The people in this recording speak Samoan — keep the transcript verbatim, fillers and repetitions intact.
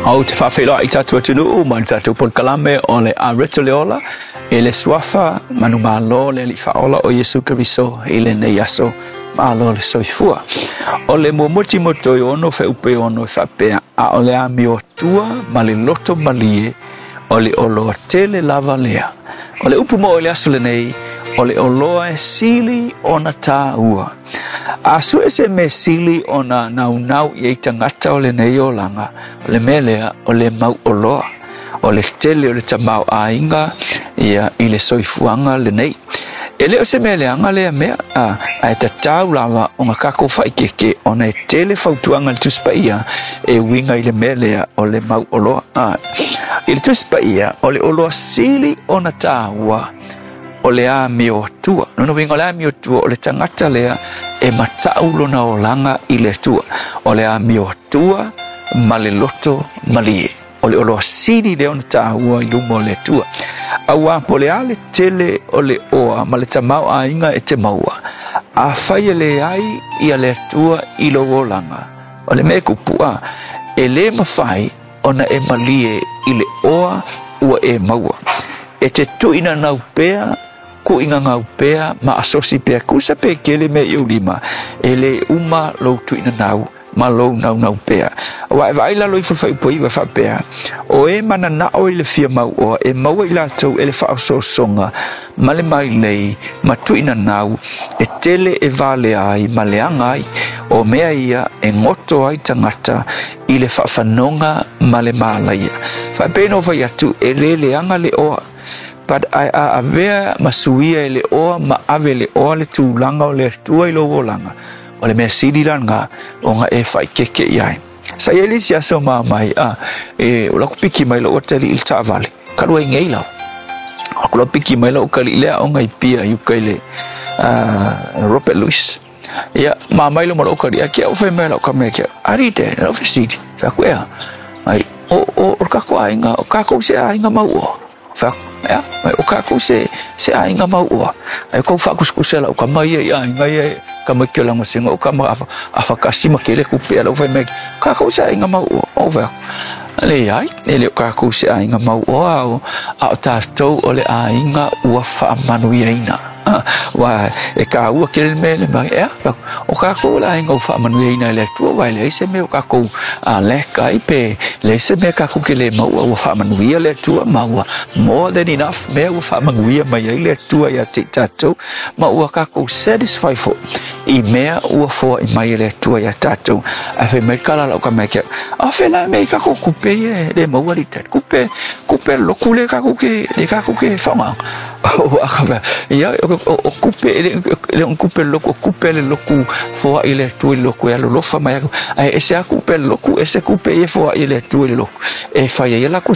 Ou te faafeiloai i tatou atunuu ma le tatou polokalame o le Areto le Ola i le suafa manumalo le Alii Faaola o Iesu Keriso i lenei aso. Malo le soifua. O le muamua Timoteo e ono fuaiupu e ono e faapea, a o le amiotua ma le loto malie o le oloa tele lava lea. O le upu mo i le aso lenei, o le oloa e sili ona tāua. A sue se mea sili ona naunau i ai tagata o lenei olaga, o le mea lea o le mau oloa, o le tele o le tamaoaiga ia i le soifuaga lenei. E le o se mea leaga lea mea, a, ae tatau lava ona kākou faaeteete ona e tele fautuaga i le Tusi Paia e uiga i le mea lea o le mau oloa. A, i le Tusi Paia, o le oloa sili ona tāua o le amiotua. Lona uiga o le amiotua o le tagata lea e matau lona olaga i le Atua. O le amiotua ma le loto malie. O le oloa sili lea ona tāua i luma o le Atua. Auā po o le a le tele o le oa ma le tamaoaiga e te maua, afai e leai ia le Atua i lou olaga, o le mea e kupu a, e lē mafai ona e malie i le oa ua e maua. E te tuuinanau pea, kuuigagau pea ma asosi pea, tusa pe tele mea i ou lima, e lē uma lou tuuinanau ma lou naunau pea. Aua e vaai i lalo ifo i le fuaiupu iva e faapea, o e mananao i le fia mauoa, e maua i latou e le faaosoosoga ma le mailei ma tuuinanau e tele e valea ai ma leaga ai, o mea ia e goto ai tagata i le faafanoga ma le malaia. Faapei ona ou fai atu, e le leaga le oa, but ae a avea ma suia e le oa ma ave e le oa le tulaga o le Atua i lou olaga, o le mea sili la lena ona e faaeteete i ai. Sa i ai le isi aso ma mai, a, e, o la ku piki mai lou atalii i le taavale, talu ai nei lava. Aku la piki mai lou atalii le aoga i Apia i uka i le uh, Robert Louis. Ia, ma mai lo ma lou atalii, a ke au fai mai lau ka mea ke, ari te, lau fesili, fai atu ea, ai, o, o, o kākou aiga, o kākou se aiga mauoa. Fai atu, ea, ai, o kākou se, se aiga mauoa. Ai, kou faakusekusa lau kama ia i aiga ia, kama ki o lagosega, o kama afa, afakasi ma kele kupe lau fai mai, kākou se aiga mauoa. O fai atu, leai, e le o kākou se aiga mauoa, o, a o tātou o le aiga ua faamanuiaina. Aua e kāua tele le mea le mai, ea, o kākou o le aiga ua faamanuiaina e le Atua, aua e leai se mea o kākou lack ai pe leai se mea kākou ke le maua, ua faamanuia le Atua ma ua more than enough mea ua faamanuia mai ai le Atua ia te i tātou, ma ua kākou satisfy foi i mea ua foai mai e le Atua ia tātou. Ae fai mai le kala lau ka mea ke, a fe la mea i kākou kupe ia e le maua li tali. Kupe, kupe loku le kākou ke, le kākou ke whaonga. O a ka mea, ia, o, o, o kupe, le, le o kupe loku, o kupe le loku foai le Atua i le loku e alolofa mai aku. Ae ese a kupe loku, ese kupe e foai le Atua i le loku. E fai ai e lakou